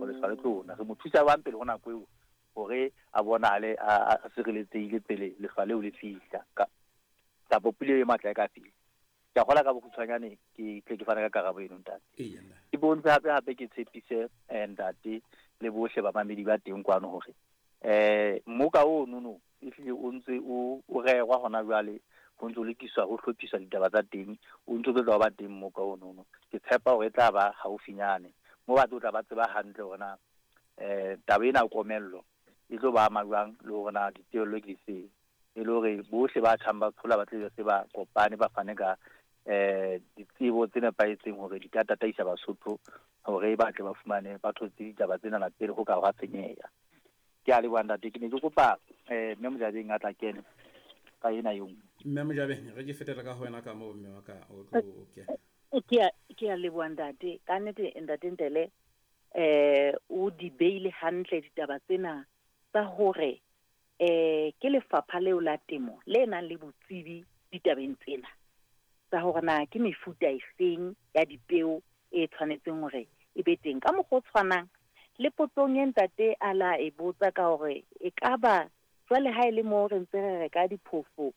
hore lehlwa le tlo na. Re mo thusa jwang pele ho nako eo hore a bonahale a sireletsehile pele lehlwa leo le fihla kapa pula e matla e ka fihla. Ke a kgolwa ka bokgutshwanyane ke tle ke fane ka karabo eno, ntate. Ke bontshe hape hape ke tshepise ntate le bohle bamamedi ba teng kwano hore mmoka ono no ehlile o ntse o rerwa hona jwale, ho ntse o lokiswa, ho hlophiswa ditaba tsa teng, o ntse o tlo ba teng mmoka ono no. Ke tshepa hore e tla ba haufinyane mo ba tlo tla ba tseba hantle hore na taba ena ya komello e tlo ba ama jwang le hore na ditebello ke difeng, e le hore bohle ba tjhang ba tshola ba tle se ba kopane ba fane ka ditsebo tse nepahetseng hore di ka tataisa Basotho hore ba tle ba fumane ba thotse ditaba tsena pele ho ka hwa senyeha. Ke a leboha ntate, ke ne ke kopa mme Mojabeng a tla kene ka ena e nngwe. Mme Mojabeng, re ke fetela ka ho wena ka moo mme wa ka o tlo kena. Ke a leboha ntate, ka nnete ntate Ntele o di beile hantle ditaba tsena tsa hore ke lefapha leo la temo le nang le botsebi ditabeng tsena tsa hore na ke mefuta efeng ya dipeo e tshwanetseng hore e be teng. Ka mokgwa o tshwanang le potsong e ntate a la e botsa ka hore e ka ba jwale ha e le moo re ntse re reka diphofo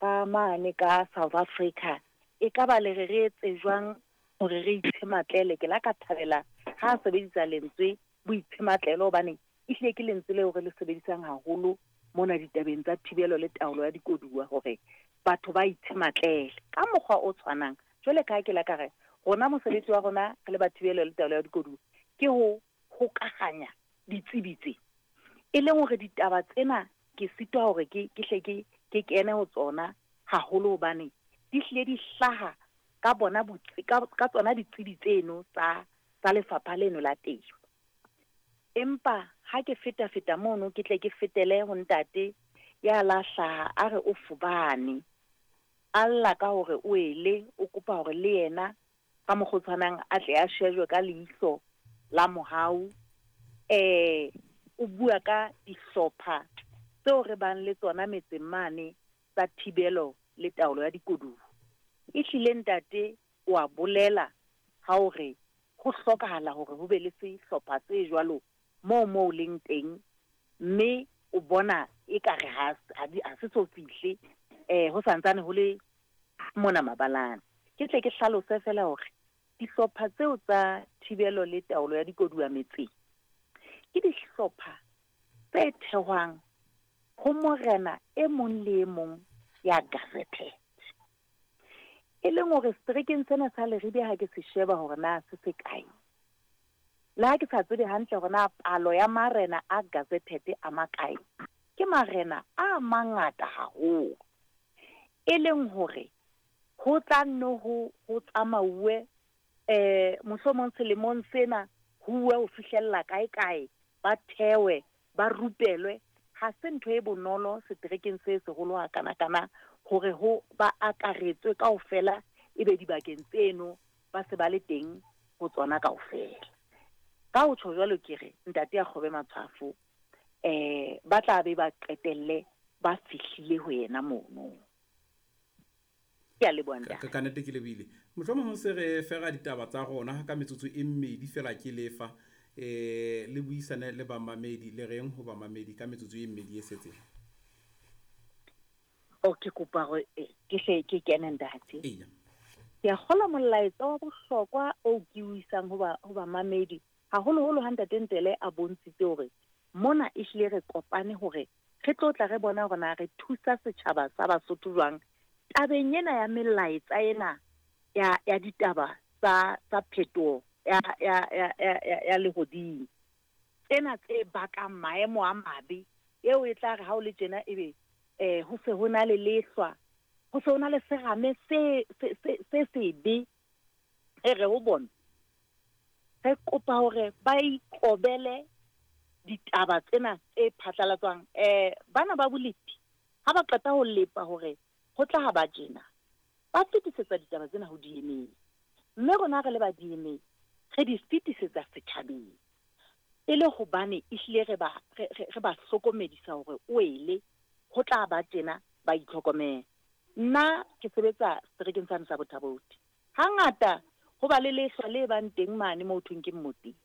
ka mane ka South Africa, e ka ba le re re etse jwang hore re itshematlele. Ke la ka thabela ha a sebedisa lentswe boitshematlelo, hobane ehlile ke lentswe leo re le sebedisang haholo mona ditabeng tsa thibelo le taolo ya dikoduwa, hore batho ba itshematlele. Ka mokgwa o tshwanang jwale ka ha ke la ka re rona mosebetsi wa rona re le ba thibelo le taolo ya dikoduwa ke ho hokahanya ditsebi tse, e leng hore ditaba tsena ke sitwa hore ke hle ke kene ho tsona haholo, hobane di hlile di hlaha ka bona ka tsona ditsebi tseno tsa lefapha leno la temo. Empa ha ke feta feta mono, ke tle ke fetele ho ntate ya la hlaha a re o fobane, a lla ka hore o ele, o kopa hore le yena ka mokgwa o tshwanang a tle a shejwe ka leihlo la mohau. O bua ka dihlopha tseo re bang le tsona metseng mane tsa thibelo le taolo ya dikoduwa. Ehlile ntate o a bolela ha hore ho hlokahala hore ho be le sehlopha se jwalo moo leng teng, mme o bona ekare ha se so fihle ho santsane ho le mona mabalane. Ke tle ke hlalose fela hore dihlopha tseo tsa thibelo le taolo ya dikoduwa metseng ke dihlopha tse thehwang ho morena e mong le e mong ya gazetted, e leng hore seterekeng sena sa Leribe ha ke se sheba hore na se se kae, le ha ke sa tsebe hantle hore na palo ya marena a gazetted a makae, ke marena a mangata haholo, e leng hore ho tla nno ho tsamauwe mohlomong selemong sena ho uwe ho fihlella kae kae, ba thewe ba rupelwe. Ha se ntho e bonolo seterekeng se seholo hakana-kana hore ho ba akaretswe kaofela, ebe dibakeng tseno ba se ba le teng ho tsona kaofela. Ka ho tjho jwalo ke re ntate a kgobe matshwafo, ba tla be ba qetelle ba fihlile ho yena mono. Ke a leboha ntate. Ka nnete ke lebohile. Mohlomong ho se re fera ditaba tsa rona ka metsotso e mmedi fela ke lefa, le buisane le bamamedi, le reng ho bamamedi ka metsotso e mmedi e setseng? O ke kopa hore ke hle ke kene ntate. Eya. Ke a kgolwa molaetsa wa bohlokwa o ke o isang ho bamamedi, haholoholo ha ntate Ntele a bontshitse hore mona ehlile re kopane hore re tlo tla re bona hore na re thusa setjhaba sa Basotho jwang tabeng ena ya melaetsa ena ya ditaba tsa phetoho ya lehodimo, tsena tse bakang maemo a mabe, eo e tla re ha o le tjena ebe ho se ho na le lehlwa, ho se ho na le serame se sebe. E re ho bona re kopa hore ba ikobele ditaba tsena tse phatlalatswang. Bana ba bolepi ha ba qeta ho lepa hore ho tla ha ba tjena, ba fetisetsa ditaba tsena ho DMA, mme rona re le ba DMA re di fetisetsa setjhabeng, e le hobane ehlile re ba hlokomedisa hore o ele ho tla ba tjena, ba itlhokomele. Nna ke sebetsa seterekeng sane sa Botha-Bothe, hangata ho ba le lehlwa le bang teng mane moo thweng ke Mmoteng.